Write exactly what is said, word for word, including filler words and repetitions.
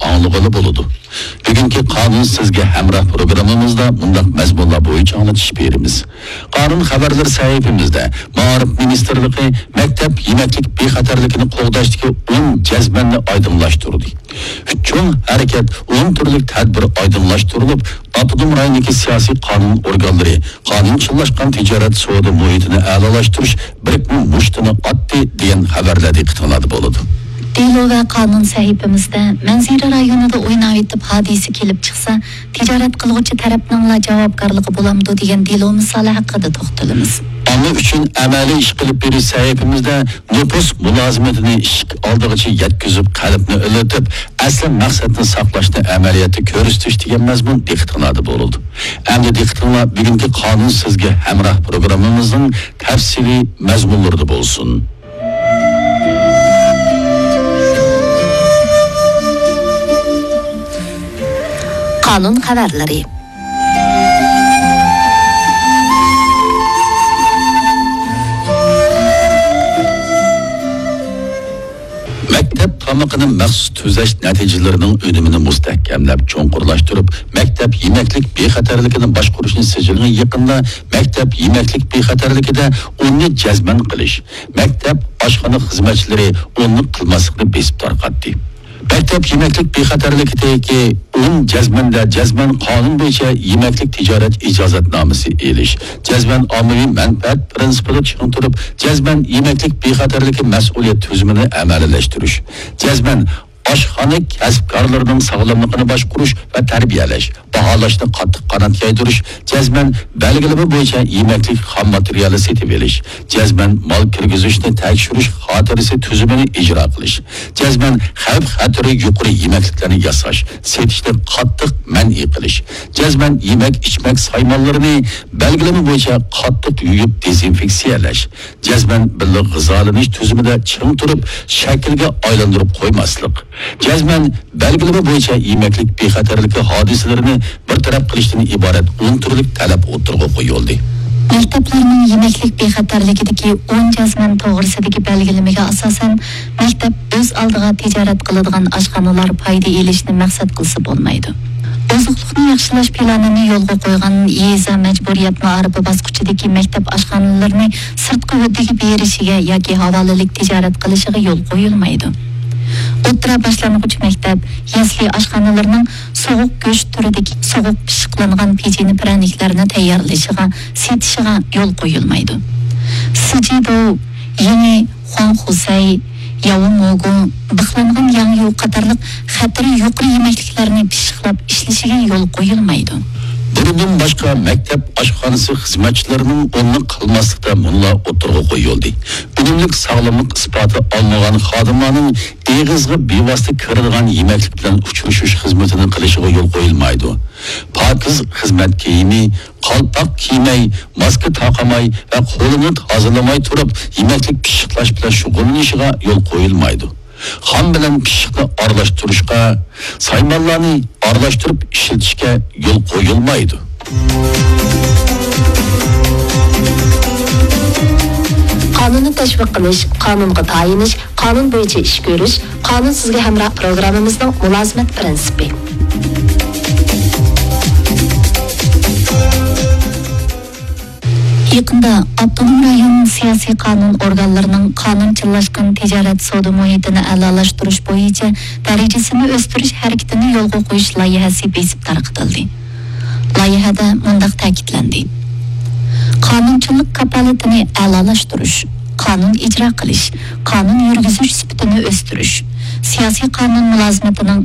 ئاڭلىغىلى بولىدۇ. بۈگۈنكى قانۇن سىزگە ھەمراھ پروگراممىمىزدا مۇنداق مەزمۇنلار بويىچە ئاڭلىتىش بېرىمىز. قانۇن خەۋەرلىرى سەھىپىمىزدە مائارىپ مىنىستىرلىقى مەكتەپ يېمەكلىك بىخەتەرلىكىنى قوغداشتىكى ئون جەزمەننى ئايدىڭلاشتۇردى. چوڭ ھەرىكەت، ئون تۈرلۈك تەدبىر ئايدىڭلاشتۇرۇلۇپ، ئاپتونوم رايوندىكى سىياسىي قانۇن ئورگانلىرى قانۇنچىللاشقان تىجارەت سودا مۇھىتىنى ئەلالاشتۇرۇش بىرىكمە مۇشتىنى ئاتتى دېگەن خەۋەرلەر دىققىتىڭلاردا بولىدۇ. دېلو ۋە قانۇن سەھىپىمىزدە مەنزىرە رايونىدا ئويناۋېتىپ ھادىسە كېلىپ چىقسا، تىجارەت قىلغۇچى تەرەپنىڭلا جاۋابكارلىقى بولامدۇ دېگەن دېلو مىسالى ھەققىدە توختىلىمىز. ئامما ئۈچۈن ئەمەلىي ئىش قىلىپ بېرىش سەھىپىمىزدە نوپۇس مۇلازىمىتىنى ئىشىك ئالدىغىچە يەتكۈزۈپ، قەلبنى ئىللىتىپ، ئەسلى مەقسەتنى ساقلاشنى ئەمەلىيەتتە كۆرسىتىش دېگەن مەزمۇن دىققىتىڭلاردا بولىدۇ. ئەمدى دىققىتىڭلار بۈگۈنكى قانۇن سىزگە ھەمراھ پروگراممىمىزنىڭ تەپسىلىي مەزمۇنلىرىدا بولسۇن. قانۇن خەۋەرلىرى. مەكتەپ تامىقىنى مەخسۇس تۈزەش نەتىجىلىرىنىڭ ئۈنۈمىنى مۇستەھكەملەپ، چوڭقۇرلاشتۇرۇپ، مەكتەپ يېمەكلىك بىخەتەرلىكىنى باشقۇرۇشنى سىجىلغا يېقىندا مەكتەپ يېمەكلىك بىخەتەرلىكىدە ئوننى جەزمەن قىلىش، مەكتەپ ئاشخانا خىزمەتچىلىرى ئوننى قىلماسلىقنى بېسىپ تارقاتتى. مەكتەپ يېمەكلىك بىخەتەرلىكىدىكى ئون جەزمەندە جەزمەن قانۇن بويىچە يېمەكلىك تىجارەت ئىجازەتنامىسى ئېلىش، جەزمەن ئاممىۋى مەنپەئەت پىرىنسىپىدا چىڭ تۇرۇپ، جەزمەن يېمەكلىك بىخەتەرلىكى مەسئۇلىيەت تۈزۈمىنى ئەمەلىيلەشتۈرۈش، جەزمەن ئاشخانا كەسىپكارلىرىنىڭ ساغلاملىقىنى باشقۇرۇش ۋە تەربىيەلەش، باھالاشنى قاتتىق قانات يايدۇرۇش، جەزمەن بەلگىلىمە بويىچە يېمەكلىك خام ماتېرىيالى سېتىۋېلىش، جەزمەن مال كىرگۈزۈشنى تەكشۈرۈش خاتىرىسى تۈزۈمىنى ئىجرا قىلىش، جەزمەن خەۋپ خەتىرى يۇقىرى يېمەكلىكلەرنى ياساش، سېتىشنى قاتتىق مەنئى قىلىش، جەزمەن يېمەك ئىچمەك سايمانلىرىنى بەلگىلىمە بويىچە قاتتىق يۇيۇپ دېزىنفېكسىيەلەش، جەزمەن بىللە غىزالىنىش تۈزۈمىدە چىڭ تۇرۇپ، شەكىلگە ئايلاندۇرۇپ قويماسلىق، جەزمەن بەلگىلىمە بويىچە يېمەكلىك بىخەتەرلىكى ھادىسىلىرىنى بىر تەرەپ قىلىشتىن ئىبارەت ئون تۈرلۈك تەلەپ ئوتتۇرىغا قويۇلدى. مەكتەپلەرنىڭ يېمەكلىك بىخەتەرلىكىدىكى ئون جەزمەن توغرىسىدىكى بەلگىلىمىگە ئاساسەن، مەكتەپ ئۆز ئالدىغا تىجارەت قىلىدىغان ئاشخانىلار پايدا ئېلىشنى مەقسەت قىلسا بولمايدۇ. ئوزۇقلۇقنى ياخشىلاش پىلانىنى يولغا قويغان يېزا مەجبۇرىيەت مائارىپى باسقۇچىدىكى مەكتەپ ئاشخانىلىرىنى سىرتقى ھۆددىگە بېرىشىگە ياكى ھاۋالىلىك تىجارەت قىلىشىغا يول قويۇلمايدۇ. ئوتتۇرا باشلانغۇچ مەكتەپ، يەسلى ئاشخانىلىرىنىڭ سوغۇق گۆش تۈرىدىكى سوغۇق پىششىقلانغان پېچىنە پىرەنىكلەرنى تەييارلىشىغا، سېتىشىغا يول قويۇلمايدۇ. سىجىدو، يېڭى خۇاڭخۇسەي، ياۋموگۇ، بىخلانغان ياڭيۇ قاتارلىق خەتىرى يۇقىرى يېمەكلىكلەرنى پىششىقلاپ ئىشلىشىگە يول قويۇلمايدۇ. بۇنىڭدىن باشقا، مەكتەپ ئاشخانىسى خىزمەتچىلىرىنىڭ ئورنىنى قىلماسلىقتا مۇنۇلار ئوتتۇرىغا قويۇلدى: ئۈنۈملۈك ساغلاملىق ئىسپاتى ئالمىغان خادىملارنىڭ ئېغىزغا بىۋاسىتە كىرىدىغان يېمەكلىك بىلەن ئۇچرىشىش خىزمىتىنى قىلىشىغا يول قويۇلمايدۇ. پاكىز خىزمەت كىيىمى، قالپاق كىيمەي، ماسكا تاقىماي ۋە قولىنى تازىلىماي تۇرۇپ يېمەكلىك پىششىقلاش بىلەن شۇغۇللىنىشىغا يول قويۇلمايدۇ. خام بىلەن پىششىقنى ئارىلاشتۇرۇشقا، سايمانلارنى ئارىلاشتۇرۇپ ئىشلىتىشكە يول قويۇلمايدۇ. قانۇننى تەشۋىق قىلىش، قانۇنغا تايىنىش، قانۇن بويىچە ئىش كۆرۈش، قانۇن سىزگە ھەمراھ پروگراممىمىزنىڭ مۇلازىمەت پىرىنسىپى. يېقىندا ئاپتونوم رايون سىياسىي قانۇن ئورگانلىرىنىڭ قانۇنچىللاشقان تىجارەت سودا مۇھىتىنى ئەلالاشتۇرۇش بويىچە دەرىجىسىنى ئۆستۈرۈش ھەرىكىتىنى يولغا قويۇش لايىھەسى بېسىپ تارقىتىلدى. لايىھەدە مۇنداق تەكىتلەندى: قانۇنچىلىق كاپالىتىنى ئەلالاشتۇرۇش، قانۇن ئىجرا قىلىش، قانۇن يۈرگۈزۈش سۈپىتىنى ئۆستۈرۈش، سىياسىي قانۇن مۇلازىمىتىنىڭ